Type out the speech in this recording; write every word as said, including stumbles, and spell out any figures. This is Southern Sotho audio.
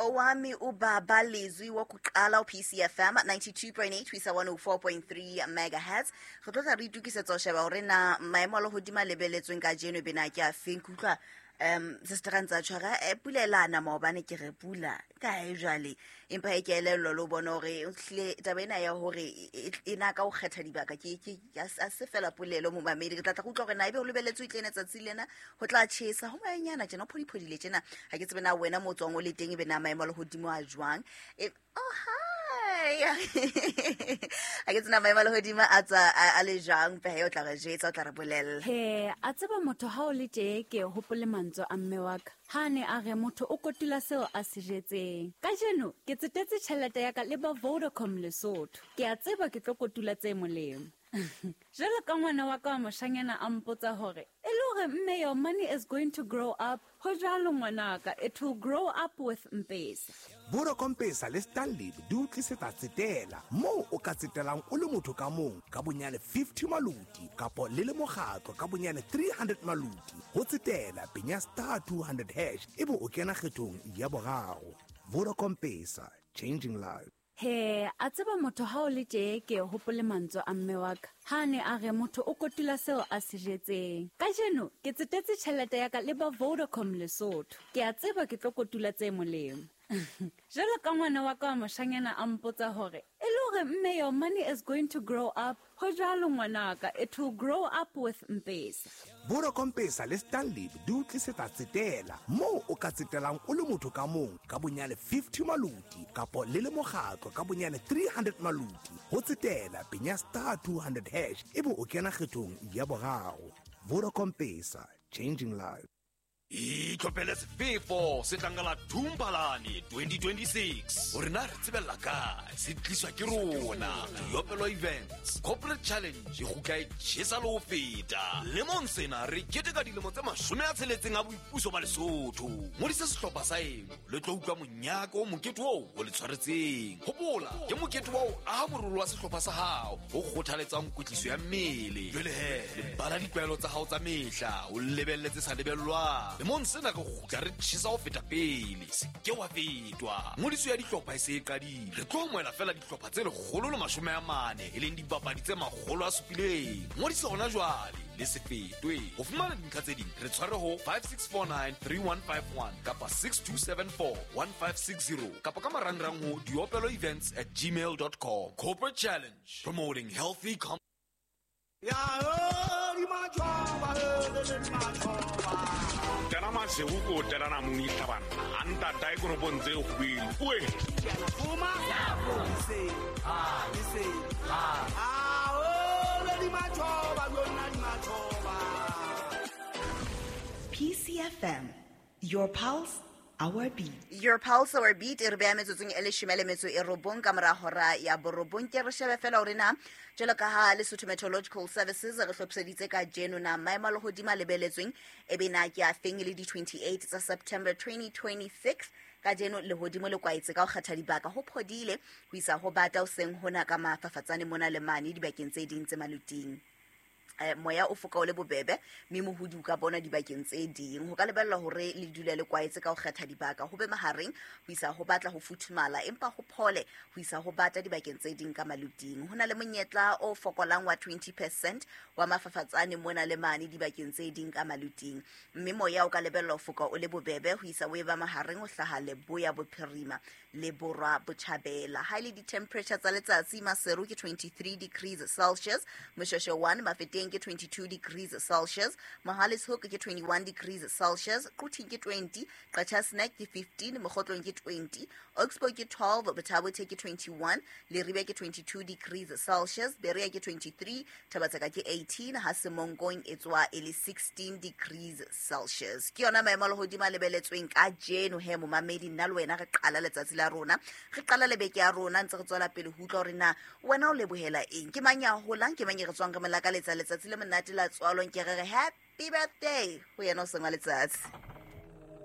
Owami ubaba Lizwi wokuqala u-P C F M ninety-two point eight ho isa one oh four point three megahertz. Re tlo tla re itokisetsa ho sheba hore na maemo a lehodimo a lebeletsweng kajeno e be na ke a feng. Ke utlwa um sister ntsa tshwara e pula e la na maobane, ke re pula kae jwale, empa e ke elellwa le ho bona hore ehlile taba ena ya hore e na ka ho kgetha dibaka ke ke a se fela polelo momamedi. Re tla tla go utlwa hore na ebe ho lebeletswe e tle ena tsatsi lena ho tla tjhesa ho moyanyana tjena, ho phodiphodile tjena. Ha ke tsebe na wena mo tswang o le teng e be na maemo a lehodimo a jwang. E oh hi ha ke tsena maemo a lehodimo a tswa a le jwang, pehe o tla re jwetsa, o tla re bolella. He a tseba motho ha o le tje ke hopole mantswe a mme wa ka ha ne a re motho o kotula seo a se jetseng. Kajeno ke tsetetse tjhelete ya ka le ba Vodacom Lesotho, ke a tseba ke tlo kotula tse molemo. Jwalo ka ngwana wa ka wa moshanyana a mpotsa hore e le hore mme your money is going to grow up. Ho jwalo ngwanaka, it will grow up with Mpesa. Vodacom Pesa le Stanley di o tlisetsa tsetela moo o ka tsetelang o le motho ka mong ka bonyane fifty maluti kapo le le mokgatlo ka bonyane three hundred maluti. Ho tsetela penya star two hundred hash ebe o kena kgethong ya boraro. Vodacom Pesa, changing lives. He a tseba motho ha o le tje ke hopole mantswe a mme wa ka ha ne a re motho o kotula seo a se jetseng. Kajeno ke tsetetse tjhelete ya ka le ba Vodacom Lesotho, ke a tseba ke tlo kotula tse molemo. Jwalo ka ngwana wa ka wa moshanyana a mpotsa hore e le hore mme your money is going to grow up. Ho jwalo ngwanaka, it will grow up with Mpesa. Vodacom Pesa le Stanley di o tlisetsa tsetela moo o ka tsetelang o le motho ka mong ka bonyane fifty maluti kapo le le mokgatlo ka bonyane three hundred maluti. Ho tsetela penya star two hundred hash ebe o kena kgethong ya boraro. Vodacom Pesa, changing lives. Itlhophele sefefo se tlangala Thumbalane twenty twenty-six. Hore na re tsebella kae, se tliswa ke rona. Diopelo Events Corporate Challenge e kgutla e tjhesa le ho feta. Lemong sena re keteka dilemo tse mashome a tsheletseng a boipuso ba Lesotho. Ngodisa sehlopha sa eno le tlo utlwa monyaka o mokete oo o le tshwaretseng. Hopola ke mokete wa ho aha morolo wa sehlopha sa hao o kgothaletsang kwetliso ya mmele. Jwale he, lebala ditlwaelo tsa hao tsa mehla, o lebelletse sa lebellwang. Lemong sena re kgutla re tjhesa ho feta pele, se ke wa fetwa. Ngodiso ya dihlopha e se e qadile. Re tlo amohela fela dihlopha tse lekgolo le mashome a mane, e leng dibapadi tse makgolo a supileng. Ngodiso hona jwale le se fetwe. Ho fumana dintlha tse ding re tshware ho five six four nine three one five one kapa six two seven four one five six zero kapa ka marangrang ho diopelo events at gmail dot com. Corporate Challenge, promoting healthy com. P C F M, your pulse, our beat. Your pulse, our beat. E re beha metsotsong e leshome le metso e robong ka mora hora ya borobong. Ke re shebe fela hore na jwalo ka ha Lesotho Meteorological Services re hlophiseditse ka jeno na maemo a lehodimo a lebeletsweng e be na ke a feng le di twenty-eight tsa September twenty twenty-six. Ka jeno lehodimo le kwaetse ka ho kgetha dibaka, ho phodile ho isa ho bata ho seng hona ka mafafatsane mona le mane dibakeng tse ding tse maluting. Eh, moya o foka o le bobebe mme mohodi o ka bona dibakeng tse ding. Ho ka lebellwa hore le dule le kwaetse ka ho kgetha dibaka, ho be mahareng ho isa ho batla ho futhumala empa ho phole ho isa ho bata dibakeng tse ding ka maluting. Ho na le monyetla o fokolang wa twenty percent wa mafafatsane mona le mane dibakeng tse ding ka maluting, mme moya o ka lebellwa ho foka o le bobebe ho isa o e ba mahareng ho hlaha leboya bophirima le borwa botjhabela. Ha ile di-temperature tsa letsatsi, Maseru ke twenty-three degrees Celsius, Moshweshwe one, Mafeteng ke twenty-two degrees Celsius, Mohale's Hoek ke twenty-one degrees Celsius, Quthing ke twenty, Qacha's Nek ke fifteen, Mokhotlong ke twenty, Oxbow ke twelve, Botha-Bothe ke twenty-one, Leribe ke twenty-two degrees Celsius, Berea ke twenty-three, Thabatseka ke eighteen, ha Semonkong e tswa e le sixteen degrees Celsius. Ke yona maemo a lehodimo a lebeletsweng ka jeno he momamedi, nna le wena re qala letsatsi la rona, re qala le beke ya rona ntse re tswela pele ho utlwa hore na wena o lebohela eng, ke mang ya holang, ke mang e re tswang re mo lakaletsa letsatsi le monate la tswalong. Ke re re happy birthday ho yena o seng wa letsatsi.